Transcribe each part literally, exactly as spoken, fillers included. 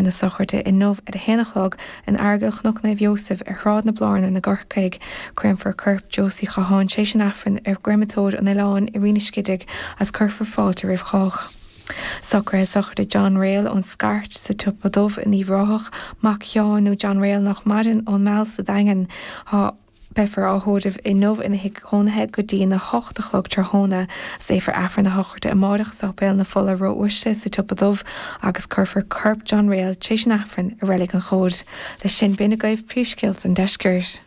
na sochraide inniu ar a haon a chlog in Aireagal Chnoc Naomh Iósaef ar Shráid na Blarnan i gCorcaigh. Créamfar corp Josie Chatháin tar éis an Aifrinn i gcreamatóir an Oileáin i Rinn an Scidigh agus cuirfear fáilte roimh chách. Socruithe sochraide John Rail ón Scairt sa Tsiopa Dubh in Uíbh Ráthach, mac Sheáin nó John Rail nach maireann ón Meall sa Daingean. Tá Beifear á thórramh inniu ina thigh cónaithe go dtí na hocht a chlog tráthnóna. Léifear Aifreann na sochraide amárach Sáipéal na Fola Ró-Uaisle sa Tsiopa Dubh agus cuirfear corp John Rail tar éis an Aifrinn i Reilig an Chóid. Leis sin b'in agaibh príomhscéalta an deiscirt.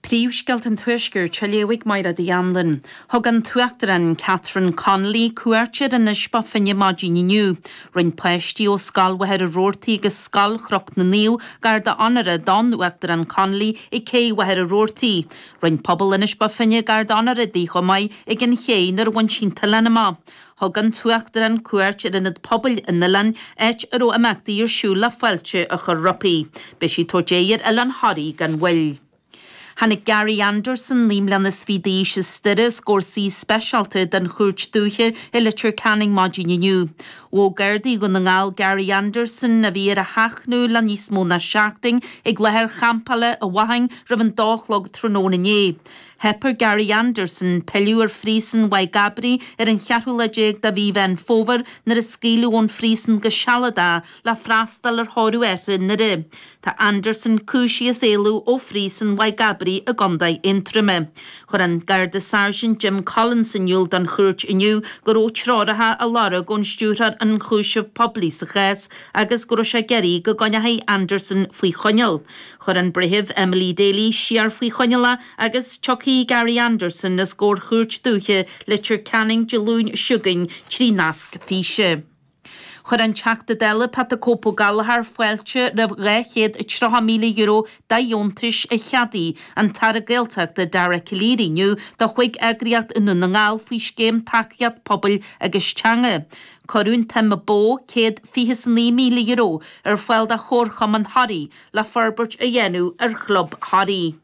Príomhscéalta an Tuaiscirt á léamh ag Máire Anlin. Thug an tUachtarán Catherine Connolly cuairt ar Inis Bó Finne maidin inniu. Rinne páistí ó Scoil Mhachaire Rabhartaigh agus Scoil Chnoc na Naomh garda onóra don Uachtarán Connolly ag cé Mhachaire Rabhartaigh. Rinne pobal Inis Bó Finne garda onóra di chomh maith ag an ché nuair a bhain sí an t-oileán amach. Thug an tUachtarán cuairt ar ionad pobail an oileáin áit a raibh imeachtaí ar siúl le fáilte a chur roimpi. Beidh sí ag tabhairt aghaidh ar Oileán Thoraí gan mhoill. Tháinig Gary Anderson naoi mbliana is fiche d'aois as Doire os comhair suí speisialta den chúirt dúiche i Leitir Ceanainn maidin inniu. Ghabh Gardaí Dhún na nGall Gary Anderson a bhí ar a sheachnadh le níos mó ná seachtain ag láthair champála i bhFathain roimh an dó a chlog tráthnóna inné. Theip ar Gary Anderson pilleadh ar phríosún Mhaigh gCabraí ar an cheathrú lá déag de mhí Mheán Fómhair nuair a scaoileadh ón phríosún go sealadach le freastal ar thórramh athar i nDoire. Tá Anderson cúisithe as éalú ó phríosún Mhaigh gCabraí i gContae Aontroma. Chuir an Garda Sergeant Jim Collins in iúl don chúirt inniu go raibh treoracha á lorg ón stiúrthóir ionchúiseamh poiblí sa chás agus go raibh sé ag iarraidh go gcoinneofaí Anderson faoi choinneáil. Chuir an breitheamh Emily Daly siar faoi choinneáil é agus tiocfaidh Gary Anderson os comhair chúirt dúiche Leitir Ceanainn Dé Luain seo chugainn trí nasc físe. Chuir an Teachta Dála Pat the Cope Ó Gallchóir fáilte roimh dhá chéad tríocha míle euro de dheontais a cheadaigh an tAire Gaeltachta Dara Calleary inniu do chúig eagraíocht i nDún na nGall faoi scéim tacaíocht pobail agus teanga. Cuireadh an tsuim ba mhó céad fiche naoi míle euro ar fáil do Chomharchumann Thoraí le forbairt a dhéanamh ar chlub Thoraí.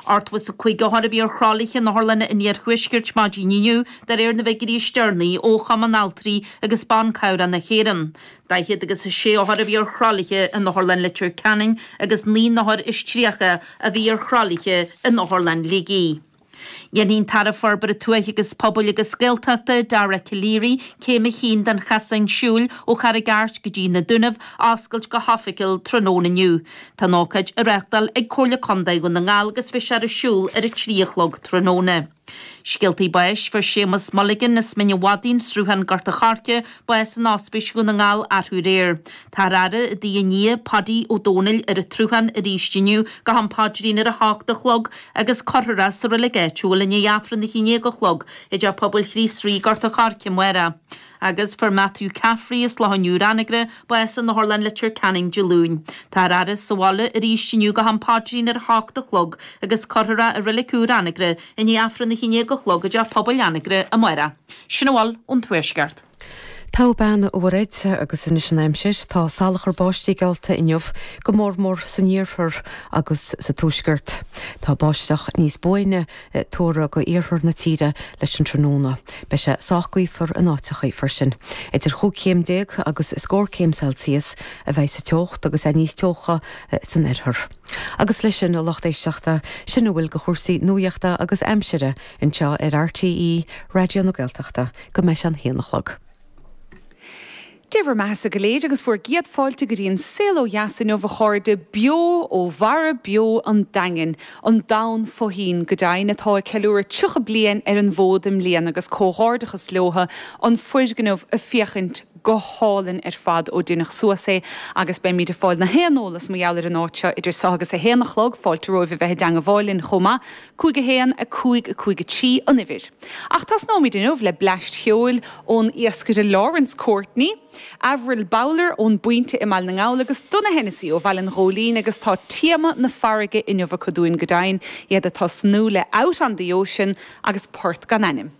Ochtó is a cúig othar a bhí ar thralaithe in otharlanna an iarthuaiscirt maidin inniu de réir na bhfigiúirí is deireanaí ó Chumann Altraí agus Ban Cabhrach na hÉireann. Daichead agus a sé othar a bhí ar thralaithe in Otharlann Leitir Ceanainn agus naoi n-othar is tríocha a bhí ar thralaithe in Otharlann Shligigh. Dhéanfaidh an tAire Forbartha Tuaithe agus Pobail agus Gaeltachta Dara Calleary céim a haon den chosán siúil ó Charraig Airt go dtí na Dúnaibh a oscailt go hoifigiúil tráthnóna inniu. Tá an ócáid á reáchtáil ag Comhairle Contae Dhún na nGall agus beidh sé ar siúl ar a trí a chlog tráthnóna. Scéaltaí báis fuair Séamus Mulligan as Mín an Mhadaidh Sruthán Gort an Choirce bás in Ospís Dhún na nGall arú aréir. Tá faire i dtigh a nia Paddy Ó Dónaill ar an tSruthán arís inniu go ham paidrín ar a hocht a chlog agus cuirfear é sa reilig áitiúil i ndiaidh Aifreann a haon déag a chlog i dTeach Pobail Chríost Rí Gort an Choirce amárach. Agus fuair Matthew Caffrey as Loch an Iúir Anagaire bás in Otharlann Leitir Ceanainn Dé Luain. Tá faire sa bhaile arís inniu go ham paidrín ar a hocht a chlog agus cuirfear é i reilig úr Anagaire i ndiaidh Aifreann a haon déag a chlog i dTeach Pobail Anagaire amárach. Sin a bhfuil ón Tuaisceart. Tá bean uréid agus anois an aimsir tá salachar báistí geallta inniu go mór mór san iarthar agus sa tuaisceart. Tá báisteach níos buaine tuartha go iarthar na tíre leis an tráthnóna. Beidh sé sách gaofar in áiteacha freisin. Idir chúig chéim déag agus scór céim Celsius a bheidh sa teocht agus é níos teocha san oirthear. Agus leis sin a lucht éisteachta sin a bhfuil de chúrsaí nuachta agus aimsire anseo ar RTÉ Raidió na Gaeltachta go mbeidh an haon a chlog. Dia bhur mbeatha go léir agus bhur gcéad fáilte go dtí an Saol Ó Dheas inniu a chairde beo ó Mhara Beo an Daingin, an domhan fo-thoinn go deimhin atá ag ceiliúradh tríocha bliain ar an bhfód i mbliana agus comhghairdeachas leo an foirgneamh ag féachaint go hálainn ar fad ó deineadh suas é agus beimid ag fáil na haon eolas mar gheall ar an áit seo idir seo agus a haon a chlog fáilte romhaibh a bheith i dteagmháil linn chomh maith, cúig a haon a cúig a cúig a trí an uimhir. Ach tosnóimid inniu le bleaist cheoil ón iascaire Lawrence Courtney, Avril Bowler ón bPointe i mBaile na nGall agus Donagh Hennessy ó Bhaile an Ghóilín agus tá téama na farraige inniu acu dúinn go deimhin, iad ag tosnú le Out on the Ocean agus Port gan ainm.